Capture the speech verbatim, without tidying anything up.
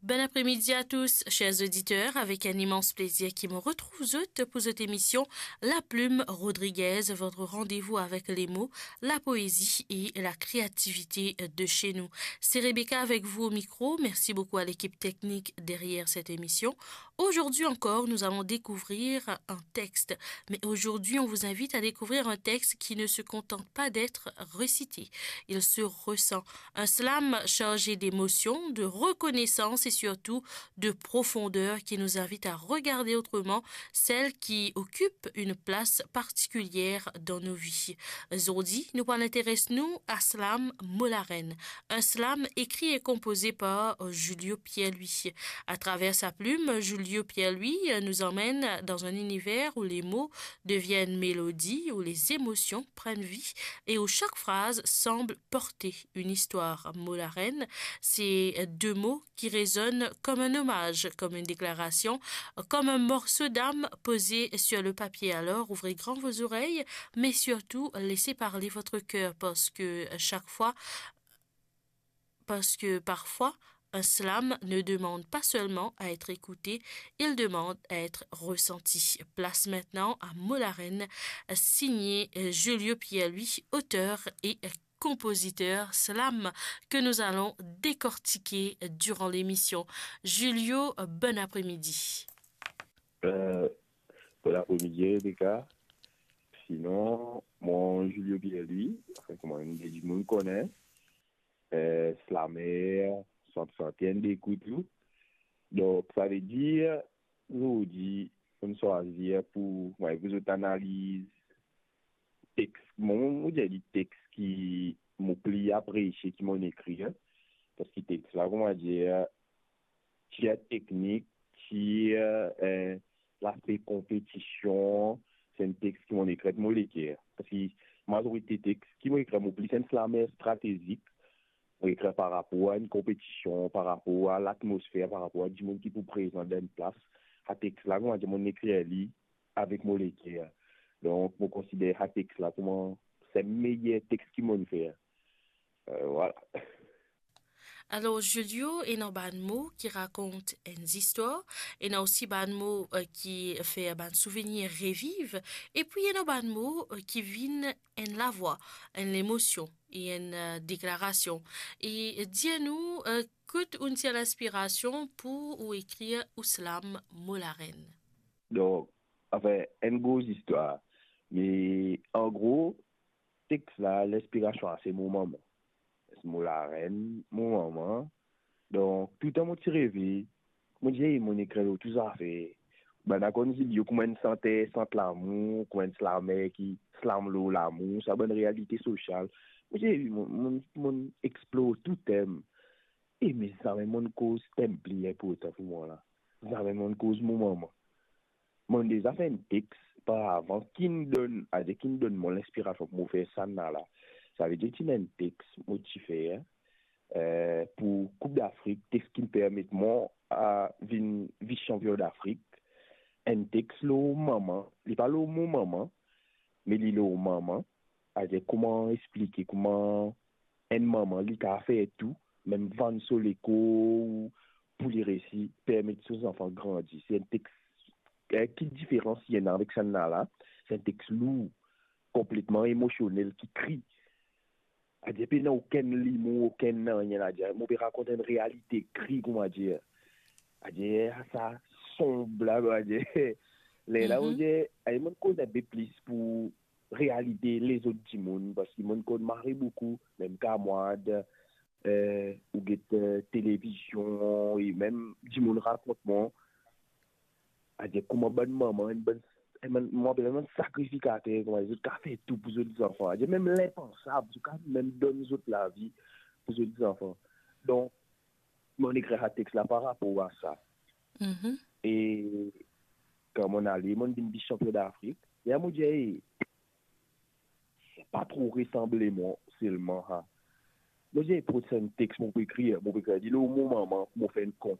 Bon après-midi à tous, chers auditeurs. Avec un immense plaisir ki mo retrouv zot pou zot émission La Plume Rodriguez, votre rendez-vous avec les mots, la poésie et la créativité de chez nous. C'est Rebecca avec vous au micro. Merci beaucoup à l'équipe technique derrière cette émission. Aujourd'hui encore, nous allons découvrir un texte. Mais aujourd'hui, on vous invite à découvrir un texte qui ne se contente pas d'être récité. Il se ressent. Un slam chargé d'émotion, de reconnaissance et surtout de profondeur qui nous invite à regarder autrement celle qui occupe une place particulière dans nos vies. Zordi, nou pou al interes nou a slam Mo Larenn, un slam écrit et composé par Julio Pierre-Louis. À travers sa plume, Julio Pierre-Louis nous emmène dans un univers où les mots deviennent mélodie, où les émotions prennent vie et où chaque phrase semble porter une histoire. Mo Larenn, c'est deux mots qui résonnent comme un hommage, comme une déclaration, comme un morceau d'âme posé sur le papier. Alors, ouvrez grand vos oreilles, mais surtout, laissez parler votre cœur, parce que chaque fois, parce que parfois, un slam ne demande pas seulement à être écouté, il demande à être ressenti. Place maintenant à Mo Larenn, signé Julio Pierre-Louis, auteur et compositeur slam que nous allons décortiquer durant l'émission. Julio, bon après-midi. Euh, bon après-midi, Rebecca. Sinon, mwa, Julio Pierre-Louis, anfin, kouma dimoun konn mwa, euh, slammer, sant-, santer, enn dekout tou. Donk, savedir, zordi, mo swazir pou, mwa, pou zot analiz text. Mo, mo dir li text ki mo pli apresie ki mo ekrir, parski text la, kouma dir, ti teknik, ti, euh, euh, laspe konpetision, se enn text ki mo ekrir mo leker. Parski mazorite text ki mo ekrir mo pli enn slammer stratezik, mo ekrir par rapor a enn konpetision, par rapor a latmosfer, par rapor a dimoun ki pou prezan dan enn plas. Sa text la, kouma dir, mo ekrir li avek mo leker. Donk, mo konsider sa text la kouma se meyer text ki mo fer. Euh, vwala. Alor, Julio, ena bann mo ki rakont enn zistwar, ena osi bann mo, euh, ki fer bann souvenir reviv, epi ena bann mo, euh, ki vinn enn lavwa, enn lemosion e enn, euh, deklarasion. E dir nou, euh, kot ou tir linspirasion pou ou ekrir ou slam Mo Larenn? Donk, anfin, enn gro zistwar. Me an gro, text la, linspirasion la se mo manman. Mo larenn, mo manman. Donk, touletan mo ti reve, mo dir, "Ey, mo ekrir lor tou zafer." Bann la konn Julio kouma enn santer, sant lamour, kouma enn slammer ki slam lor lamour, sa bann realite sosial. Mo dir, "Ey, mo, mo, mo explor tou tem." E me zame mo koz tem pli inportan pou mwa la. Zame mo koz mo manman. Mo deza fer enn text paravan ki donn, adir ki donn mwa linspirasion pou mo fer sannla. Savedir ti ena enn text mo ti fer, eh, pou Koup Dafrik, text ki permet mwa a vinn vis-sanpion Dafrik. Enn text lor manman, li pa lor mo manman, me li lor manman. Adir kouma explike, kouma enn manman, li kapav fer tou, mem vann so lekor pou li resi permet so zanfan grandi. Se enn text, eh, ki diferans ena avek sannla? Se enn text lour, konpletman emosionel, ki kri. Adir pena okenn limo, okenn nanye ladan. Mo pe rakont enn realite kri, kouma dir. Adir sa sonb la, adir. Lerla, mo dir, adir mo koz enn pe plis pou realite lezot dimoun, parski mo konn mari boukou, mem kamwad, eh, ou get, eh, televizion, e mem dimoun rakont mwa, adir kouma bann manman, enn bann, enn bann, mo apel bann sakrifikater, kouma zot kapav fer tou pou zot zanfan, adir mem linpansab, zot kapav mem donn zot lavi pou zot zanfan. Donk, mo ekrir sa text la parapor a sa. E kan mo ale, mo vinn vis-sanpion Dafrik. E mo dir, "Ey, sa pa tro resanble mwa selman, ha." Mo dir, "Prosenn text mo pou ekrir, mo pou ekrir li lor mo manman, mo fer enn kon."